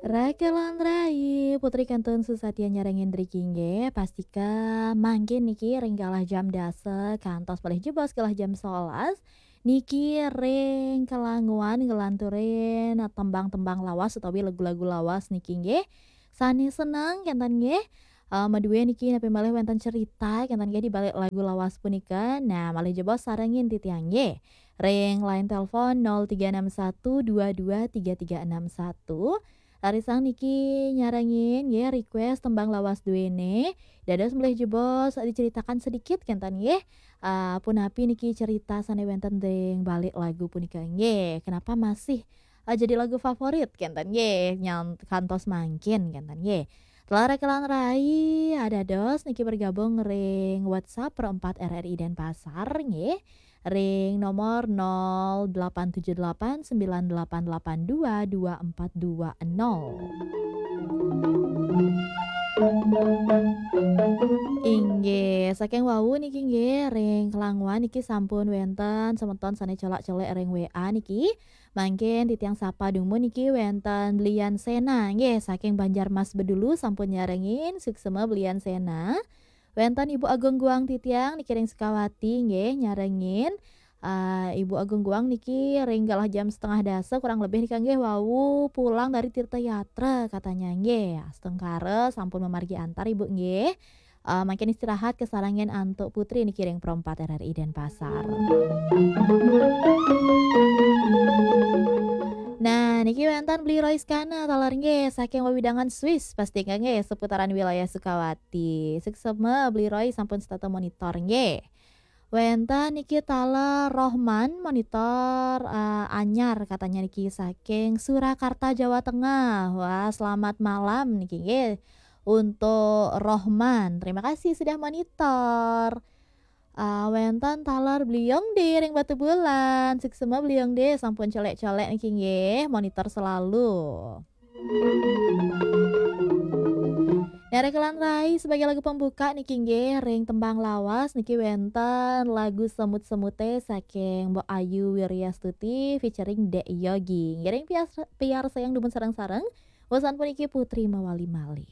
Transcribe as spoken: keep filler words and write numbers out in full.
Rakelan rai, Putri kantun susatia nyarengin driki nggih, pastika mangkin niki ring galah jam dasa kantos malih jebos galah jam solas, niki ring kelanguan nglanturin tembang-tembang lawas utawi lagu-lagu lawas niki nggih. Sane seneng kenten nggih. Eh, madue niki napi malih wenten cerita kenten nggih di balik lagu lawas punika. Nah, malih jebos sarengin titiang nggih. Ring line telepon nol tiga enam satu dua dua tiga tiga enam satu. Rarisang niki nyarengin nggih request tembang lawas duene. Dados malih jebos diceritakan sedikit kenten nggih. Eh, punapi niki cerita sane wenten ring balik lagu punika nggih. Kenapa masih eh, jadi lagu favorit kenten nggih, nyang kantos mangkin kenten nggih. Telah rekelan rai, adados niki bergabung ring WhatsApp Pro empat R R I Denpasar nggih. Ring nomor nol delapan tujuh delapan sembilan delapan delapan dua dua empat dua nol. Inggih, saking wau niki nggih, ring kelanguan niki sampun wenten semeton sane colak-colek ring W A niki. Mangkin titiang sapa dumun niki wenten Blian Sena nggih, saking Banjarmas Bedulu sampun nyarengin, suksema Blian Sena. Wenten Ibu Agung Guang titiang niki ring Sukawati nggih, nyarengin. Ah, Ibu Agung Guang niki ring galah jam setengah dasa kurang lebih nika nggih wau pulang dari Tirta Yatra katanya nggih. Astungkara sampun mamargi antar Ibu nggih. Eh, mangkin istirahat, kesarengin antuk Putri niki ring Pro empat R R I Denpasar. Nah, niki wenten Bli Royskana taler nggih saking wewidangan Swiss, pastika nggih seputaran wilayah Sukawati. Suksema Bli Roy sampun setata monitor nggih. Wenten niki taler Rohman monitor, eh, anyar katanya niki saking Surakarta, Jawa Tengah. Wah, selamat malam niki nggih. Untuk Rohman. Terima kasih sudah monitor. Ah, wenten taler Bliong D ring Batubulan. Suksema Bliong D sampun colek-colek niki nggih, monitor selalu. Nah, rekelan rai sebagai lagu pembuka niki nggih, ring tembang lawas niki wenten lagu Semut-semute saking Mbok Ayu Wiryastuti featuring Dek Yogi. Ngiring piar, piar sayang dumun sareng-sareng. Wasan puniki Putri mawali malih.